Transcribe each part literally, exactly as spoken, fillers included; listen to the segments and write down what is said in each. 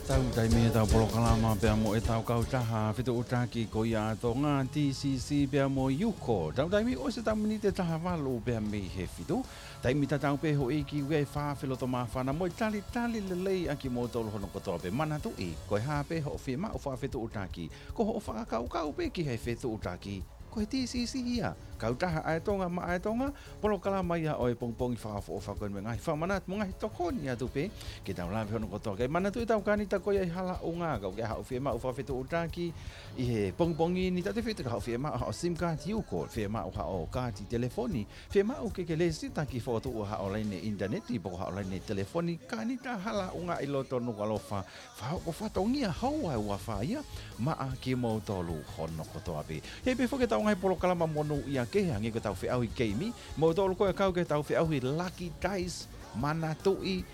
Tau taimi ʻetau polokalama pea mo ʻetau kautaha fetuʻutaki ko ia ʻa Tonga, T C C pea mo Yuko. Tau taimi ʻosi ʻetau miniti ʻe taha valu pea mei he fitu. Taimi tatau pē hoʻi ki he fakaafeʻi loto māfana mo e talitali lelei ʻa kimoutolu hono kotoa pē. Manatuʻi, ko e hā pē hoʻo fiemaʻu fakafetuʻutaki, ko hoʻo fakakaukau pē ki he fetuʻutaki, ko e T C C ia. Kautaha ʻa e Tonga maʻa e Tonga, polokalama ia ʻo e pongipongi fakaʻofoʻofa ko eni mo e ngaahi fakamanatu mo e ngaahi tokoni atu pē ke tau lave hono kotoa. Kae manatuʻi ʻetau kanita ko ia ʻi Halaʻunga, kapau ʻoku ʻi ai haʻo fiemaʻu fakafetuʻutaki ʻi he pongipongi ni, tatau pē pe ko haʻo fiemaʻu haʻo SIM card Yuko, fiemaʻu haʻo kaati telefoni, fiemaʻu ke ke lēsisita ke fokotuʻu haʻo laine ʻinitaneti pe ko haʻo laine telefoni, kanita Halaʻunga ʻi loto Nukuʻalofa, fakahoko fatongia houa ʻe ua fā ia maʻa kimoutolu hono kotoa pē. Hei pē foki ʻetau ngaahi polokalama monūʻia kehe, hangē ko ʻetau feʻauhi keimi, moutolu ko ē ʻoku kau ki heʻetau feʻauhi Lucky Dice, manatuʻi,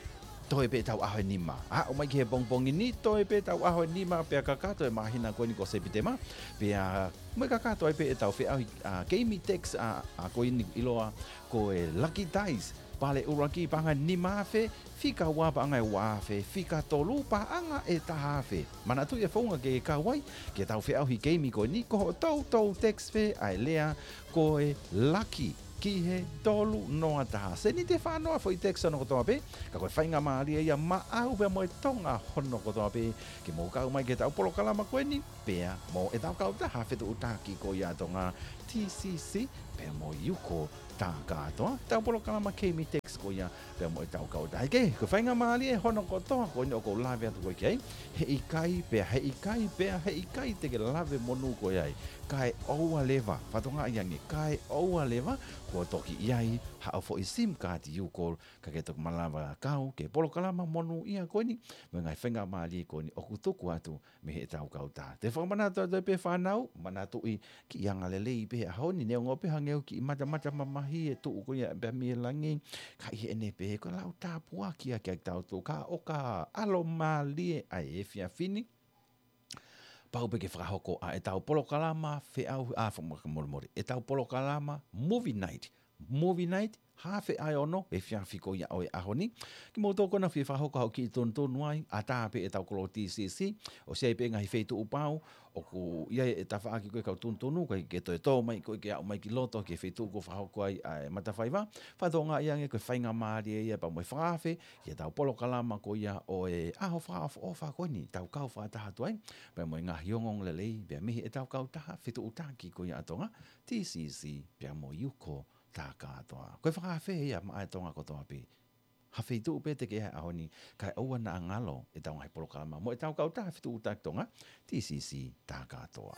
toe pē ʻetau ʻaho ʻe nima. Aʻu mai ki he pongipongi ni, toe pē ʻetau ʻaho ʻe nima pea kakato e māhina ko eni ko Sepitema, pea mo e kakato ai pē ʻetau feʻauhi, ʻa, keimi text, ʻa, ʻa ko eni ʻiloa ko e Lucky Dice, pale ʻuluaki paʻanga ʻe nima afe, fika ua paʻanga ʻe ua afe, fika tolu paʻanga ʻe taha afe. Manatuʻi e founga ke kau ai ki heʻetau feʻauhi keimi ko eni, ko hoʻo toutou text pē ʻa e lea ko e Lucky ki he tolu noa taha. Seniti ʻe fā noa foʻi text hono kotoa pē, ka ko e faingamālie ia maʻau pea mo e Tonga hono kotoa pē, ke mou kau mai ki heʻetau polokalama ko eni, pea mo ʻetau kautaha fetuʻutaki ko ia ʻa Tonga, T C C pea mo Yuko Takatoa. ʻEtau polokalama keimi text ko ia pea mo ʻetau kautaha. Ke, ko e faingamālie hono kotoa ko eni ʻoku ou lave atu ko ē ki ai, heʻikai pea, heʻikai pea, heʻikai te ke lave monū ko ē ai, kae ʻoua leva, fakatokangaʻi ange, kae ʻoua leva kuo toki ʻi ai haʻo foʻi SIM card Yuko, ka ke toki malava kau ki he polokalama monūʻia ko eni mo e ngaahi faingamālie ko eni ʻoku tuku atu mei heʻetau kautaha. Te u fakamanatu atu pē fānau, manatuʻi kiʻi angalelei pē he ʻaho ni, neongo pē hangē ʻoku kiʻi matamata mamahi e tuʻu ko ia pea mei he langi, ka ʻi heʻene pehē ko e lau tāpuaki ia kiate kitautolu, ka ʻoka ʻalomālie ʻa e efiafi ni, pau pē ke fakahoko ʻa ʻetau polokalama feʻauhi, ʻa, fakamolemole, ʻetau polokalama Movie Night. Movie Night, haafe ʻa e ono, efiafi ko ia ʻo e ʻaho ni. Kimoutolu ko ena ʻoku fie fakahoko haʻo kiʻi tonutonu ai, ʻatā pē ʻetau kolo T C C, ʻosi ʻi ai pē ngaahi feituʻu pau ʻoku ʻi ai e tafaʻaki ko ē kau tonutonu, ko ē ke toe tō mai ko ē ke aʻu mai ki loto ki he feituʻu kuo fakahoko ai ʻa e matafaiva. Fakatokangaʻi ange ko e faingamālie ia pea mo e fakaafe ki heʻetau polokalama ko ia ʻo e ʻaho fakaʻofoʻofa ko eni, tau kau fakataha atu ai pea mo e ngaahi ongoongolelei pea mei heʻetau kautaha fetuʻutaki ko ia ʻa Tonga, T C C pea mo Yuko Takatoa. Ko e fakaafe ia maʻa e Tonga kotoa pē. Ha feituʻu pē te ke ʻi ai he ʻaho ni, kae ʻoua naʻa ngalo ʻetau ngaahi polokalama mo ʻetau kautaha fetuʻutaki ʻa Tonga, T C C Takatoa.